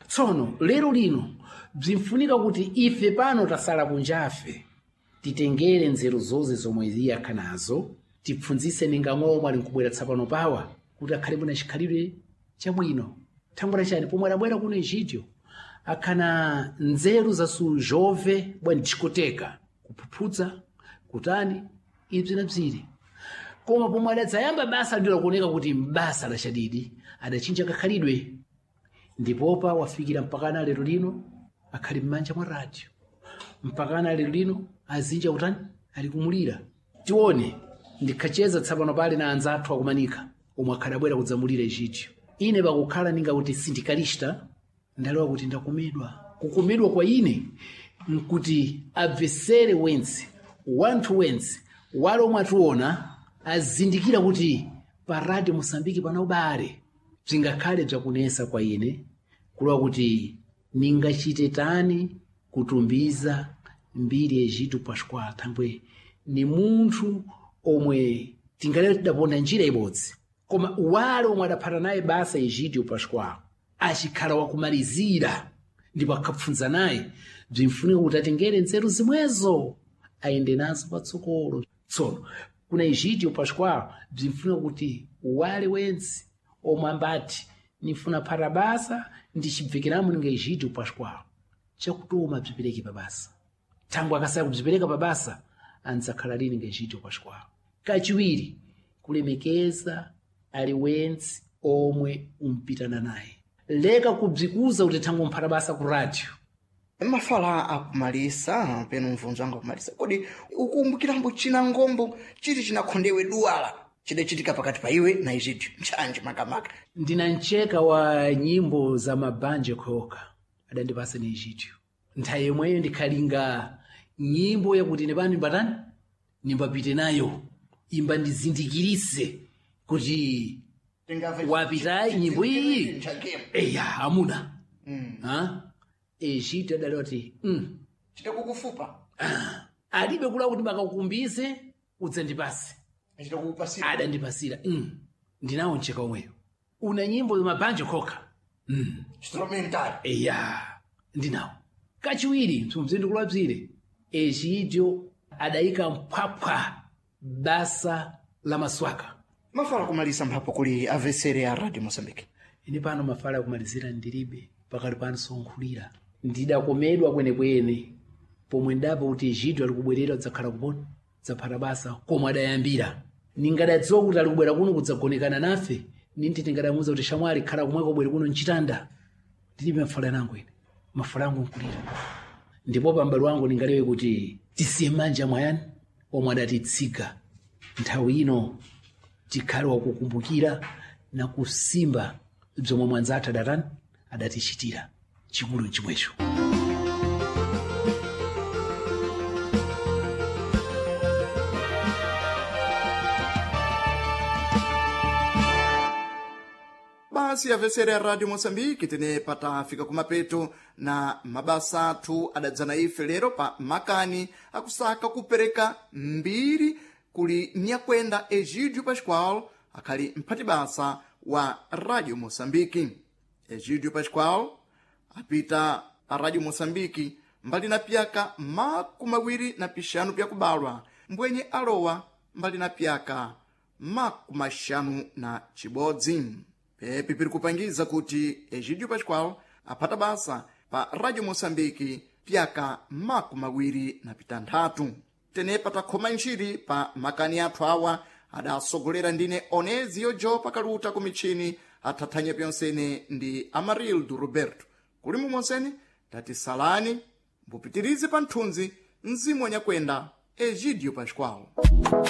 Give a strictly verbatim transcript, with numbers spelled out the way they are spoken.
Tsono lero lino bzinfunika kuti ife pano tasala kunjafe titengere nzeru zonse zomwe iye akhanazo, tipfunzise ninga momwe ali nkubwera tsapano pawa kuti akhale bwina chikhalidwe chabwino. Thangwera chani pomwe adabwera kuno Egidio akhana nzeru za sujove bwa discoteca, kuphuphudza, kutani ibzi na bzire. Koma pomwe adadzayamba basa ndilo kuoneka kuti mbasa la chadidi adachinja kakhalidwe, ndipopa wafikira mpakana lero lino akhali m'manja mwa radio, mpakana lero lino azinja kutani ali kumulira. Tione ndikhacheza tsapano pali na anzathu akumanika omwe akhali abwera kudzamulira Egidio. Ine pakukhala ninga kuti sindikalista ndalewa kuti ndakumidwa. Kukumidwa kwa ine nkuti abvesere wense, wanthu wense wale omwe ationa azindikira kuti pa Radio Mosambiki pana ubale. Bzingakhale bzakunesa kwa ine kulowa kuti ningachite tani kutumbiza mbiri Egidio Pascual, thangwe ni munthu omwe tingalero tidaponda njira ibodzi, koma wale omwe adaphata naye basa Egidio Pascual achikhala wakumalizira ndipo akhapfunza naye, bzinfunika kuti atengere nzeru zimwezo ayende nazo patsogolo. Tsono kuna Egidio Pascual bzinfunika kuti wale wense omwe ambati nifuna phata basa ndichibvekeramo ninga Egidio Pascual, chakutoma bzipereke pa basa. Thangwe akasaya kubzipereka pa basa andzakhala lini nga Egidio Pascual. Kachiwiri, kulemekeza aliwense omwe umpitana naye, leka kubzikuza kuti thangwe umphata basa ku radio. Mafala akumalisa peno mvunzo wangu akumalisa, kodi ukumbukirambo china ngombo chiti chinakhondewe duwala chidachitika pakati pa iwe na Egidio ntchanje makamaka? Ndina mcheka wa nyimbo za mabanje khoka adandipasa ni Egidio. Nthawi yomweyo ndikhalinga nyimbo yakuti ine pano nimbatani nimbapite nayo, imba ndizindikirise kuti wapitayi nyimbo iyi eya amuna ha Egidio adalewa ti mm. Chitakukufupa alibe kula kuti bakakukumbize udzandipase, chitakukupasira adandipasira mm. Ndinawo mcheka omweyo una nyimbo mabanje khoka mm. instrumental Eya ndinawo. Kachiwiri msumzindu bzire Egidio adayika mphwaphwa basa la maswaka. Mafala kumalisa mphapo kuli avesere ya Radio Mosambiki. Ine pano mafala akumalizira ndilibe, pakati pano sonkhulira ndidakomedwa kwenekwene pomwe ndapa kuti Egidio ali kubwerera kudzakhala kupona dzaphata basa komwe adayambira. Ningadadziwa kuti ali kubwera kuno kudzagonekana nafe, ninti tingadamuwuza kuti shamwali khala komweko bwere kuno mchitanda. Ndilibe mafala nangu ine, mafala angu nkulira. Ndipo pambali wangu ndingalewe kuti tisiye manja mwayani omwe adatitsika nthawi ino tikhale wakukumbukira na kusimba bzomwe mwanzathu adatani adatichitira chikulu chimwecho. Basi avesere ya Radio Mosambiki tene patafika kumapeto na mabasa athu adadzana ife lero pa makani akusaka kupereka mbiri kuli nyakwenda Egidio Pascual akhali mphati basa wa Radio Mosambiki. Egidio Pascual apita pa Radio Mosambiki mbali na pyaka makumi awiri na pixanu pyakubalwa, mbwenye alowa mbali na pyaka makumi axanu na chibodzi. Pepi piri kupangiza kuti Egidio Pascual aphata basa pa Radio Mosambiki pyaka makumi awiri na pitanthatu. Tenepa takhoma ntchiri pa makani athu awa adasogolera ndine Onezio Jo pakaluta ku mitchini athathanya pyonsene ndi Amarildo Roberto. Kuli mumonsene tatisalani mbupitirize pa nthunzi mzimu wanyakwenda Egidio Pascual.